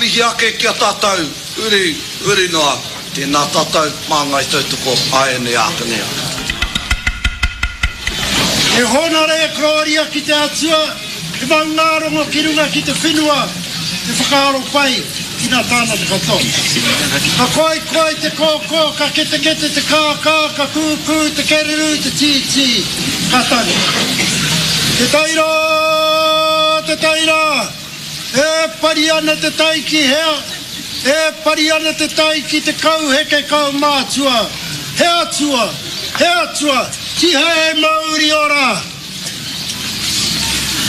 mihi ake ki a tātou, uri, huri noa, tēnā tātou, māngai tautoko, āianei ākene ake. He hōnore e kororia ki te Atua, he maungārongo ki runga ki te whenua, he whakaaro pai ki ngā tāngata katoa. Ka koikoi te kōkō, ka ketekete te kākā, ka kūkū te kererū, te tītī, ka tangi. Te taira, te taira, e pari ana te tai ki hea? E pari ana te tai ki te kauheke kaumātua, he atua, he atua, tihei mauri ora!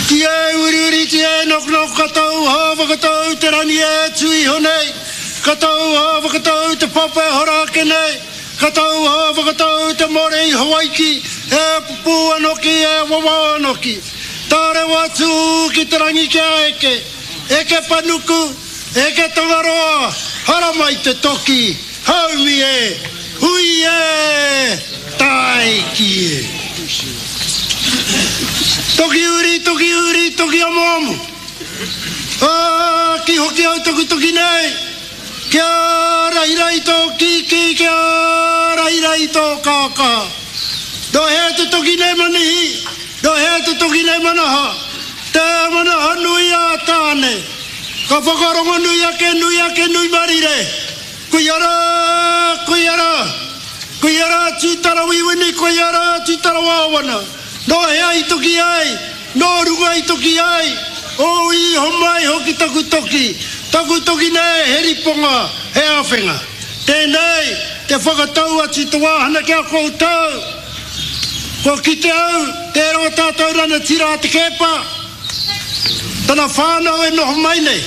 Tia e uriuri, tia e noknok, ka tau hā whakatau te rangi e tū iho nei, ka tau hā whakatau te papa e hora ake nei, ka tau hā whakatau te more i Hawaiki, e pupū anoki, e wawao anoki. Tārewa atu ki te rangi kia eke, eke panuku, eke Tangaroa, haramai te toki, haumi e, hui e, tāiki e. Toki uri, toki uri, toki amoamo. Ā, ki hoki au taku toki nei, kia rahirahi tō kīkī, kia rahirahi tō kākā. Nō hea te toki nei Manihi, nō hea te toki nei Manaha, te manaha nui a Tāne. Ka whakarongonui ake, nui ake, nui marire. Koia rā, koia rā. Koia rā Tūtarawiwini, koia rā Tūtarawāwana. Nō hea i toki ai, nō runga i toki ai, ō i homai hoki taku toki, taku toki nei he riponga, he āwhenga. Tēnei te whakatau atu te wāhana ki a koutou. Kua kite au, tērā o tātou ranatira a Te Keepa, Tana whānau e noho mai nei.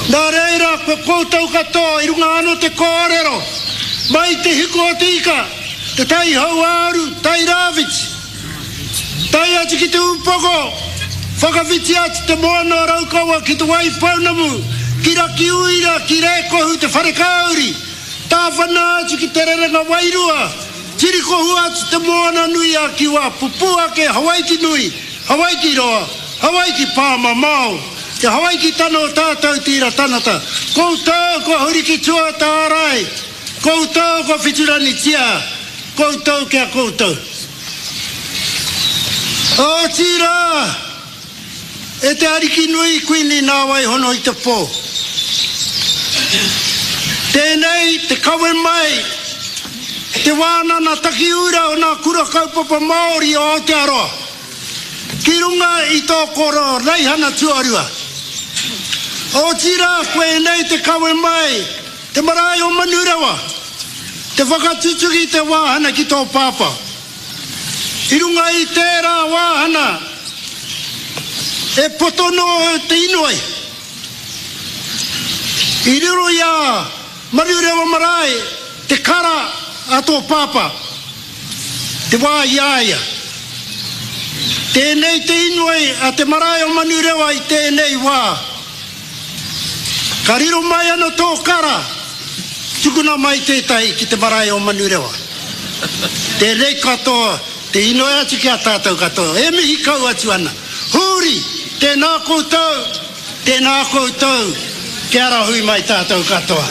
Nā reira, ko koutou katoa i runga anō te kōrero, mai te hiku o te ika, te tai hauāuru, tai rāwhiti, tae atu ki te upoko, whakawhiti atu te moana o Raukawa ki Te Waipounamu, ki Rakiuira, ki Rēkohu, te wharekāri, tāwhana atu ki Te Rerenga Wairua, Tirikohua atu te moana nui a Kiwa, pupū ake Hawaiki nui, Hawaiki roa, Hawaiki pāmamao, te Hawaiki tana o tātou te ira tanata, koutou kua huri ki tua tārai, koutou kua whituranitia, koutou ki a koutou. Otirā! E te Ariki nui, Kuini nā wai hono i te pō. Tēnei te kawe mai te wānana takiura o nā kura kaupapa Māori o Aotearoa ki runga i tō koro raihana tuarua. Otirā koinei te kawe mai te marae o Manurewa, te whakatutuki te wāhana ki tō pāpā. I runga i tērā wāhana e poto noa te inoi i riro i a Manurewa Marae te kara a tō pāpā, te wā i a ia. Tēnei te inoi a te marae o Manurewa i tēnei wā. Ka riro mai ana tō kara, tukuna mai tētahi ki te marae o Manurewa. Tēnei katoa, te inoi atu ki a tātou katoa, e mihi kau atu ana. Hūri, tēnā koutou, tēnā koutou, kia rahui mai tātou katoa.